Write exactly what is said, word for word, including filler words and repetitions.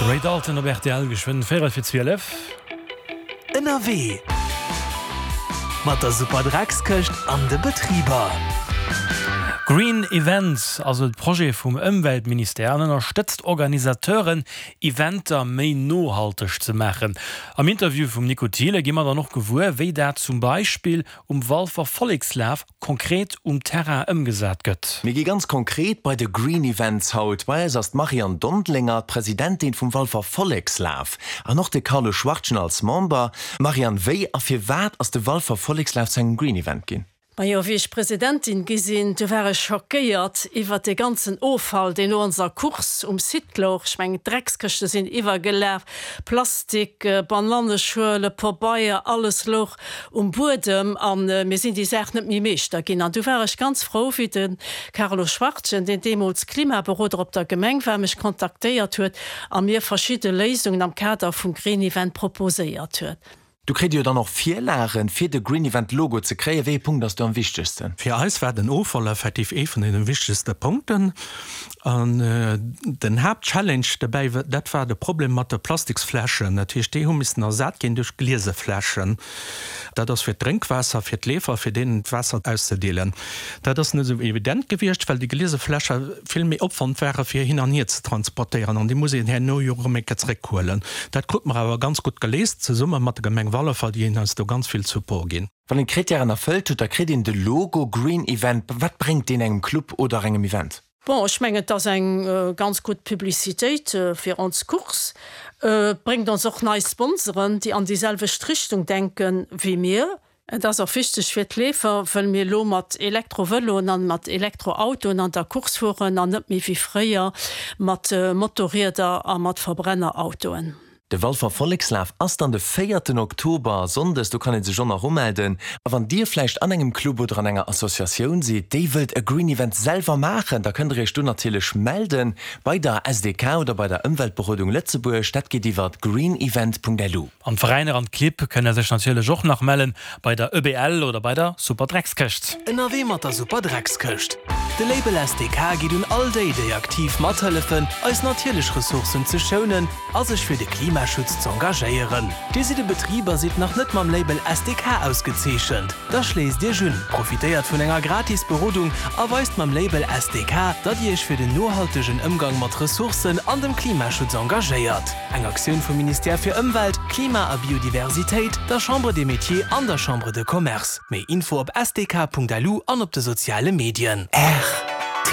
De Ray Dalton op rtl, geschwënn véierel fir zwielef. Ënnerwee mat der Superdreckskëscht an de Betriber. Green Events ass e Projet vum Ëmweltministère an ënnerstëtzt Organisateuren, Eventer méi nohalteg ze maachen. Am Interview vum Nico Thiele gi mer dann och gewuer, wéi dat zum Beispill um Walfer Vollekslaf konkret um Terrain ëmgesat gëtt. Mir gi ganz konkret bei de Green Events haut. Bei eis ass d'Marianne Dondelinger, d'Presidentin vum Walfer Vollekslaf an och de Carlo Schwartgen als Member. Marianne, wéi a firwat ass de Walfer Vollekslaf zu engem Green Event ginn? Majo, wéi ech Presidentin gi sinn, du war ech schockéiert iwwert dee ganzen Offall, deen no onser Course um Site louch. Ech mengen, d'Dreckskëschte sinn iwwergelaf, Plastik, Bananneschuele, Pabeier, alles louch um Buedem a mir sinn déi Saach net méi meeschter ginn. An du war ech ganz frou, wéi de Carlo Schwartgen, deen deemools Klimaberoder op der Gemeng war, mech kontaktéiert huet a mir verschidde Léisungen am Kader vum Green Event proposéiert huet. Do kritt Dir jo dann och Virlagen, fir de Green Event Logo ze kréien. Wéi ee Punkt ass do am wichtegsten? Fir eis war den Offall effektiv ee vun deene wichtegste Punkten. An den Haaptchallenge dobäi, dat war de Problem mat de Plastiksfläschen. Dat heescht, déi hu missen ersat ginn duerch gliese Fläschen. Dat ass fir d'Drénkwaasser, fir d'Leefer, fir deenen d'Waasser auszedeelen. Dat ass net esou evident gewiescht, well déi gliese Fläsche vill méi Opwand ware fir hin an hier ze transportéieren an déi muss een herno jo erëm eng Kéier zréckhuelen. Dat krute mer awer ganz gutt geléist, zesumme mat der Gemeng Wallerfall, déi eis do ganz vill Support ginn. Wann een d'Krittären erfëllt huet, da kritt een de Logo Green Event. Wat bréngt deen engem Club oder engem Event? Bon, ech mengen, et ass eng ganz gutt Publicitéit fir ons Course. Et bréngt ons och nei Sponsoren, déi an déi selwecht Richtung denke wéi mir. Et ass och wichteg fir d'Leefer, wëll mir elo mat Elektrovëloen an mat Elektroautoen an der Course fueren an net méi wéi fréier mat Motorrieder a mat Verbrennerautoen. De Walfer Vollekslaf ass dann de véierten Oktober, sonndes. Do kann ee sech och nach umelden. A wann Dir vläicht an engem Club oder an enger Associatioun sidd, déi wëllt e Green Event selwer maachen, da kënnt Der Iech do natierlech melden bei der S D K oder bei der Ëmweltberodung Lëtzebuerg. Dat geet iwwer greenevent.lu. An d'Veräiner an d'Clibb kënne sech natierlech och nach mellen bei der E B L oder bei der Superdreckskëscht. Ënnerwee mat der Superdreckskëscht. De Label S D K geet un all déi, déi aktiv mathëllefen, eis natierlech Ressourcen ze schounen a sech fir de Klimaschutz z'engagéieren. Dir sidd e Betrib a sidd nach net mam Label S D K ausgezeechent? Da schléisst Iech un, profitéiert vun enger gratis Berodung a weist mam Label S D K, datt Dir Iech fir den nohaltegen Ëmgang mat Ressourcen an dem Klimaschutz engagéiert. Eng Aktioun vum Ministère fir Ëmwelt, Klima a Biodiversitéit, der Chambre des Métiers an der Chambre de Commerce. Méi Info op S D K Punkt L U an op de soziale Medien. R T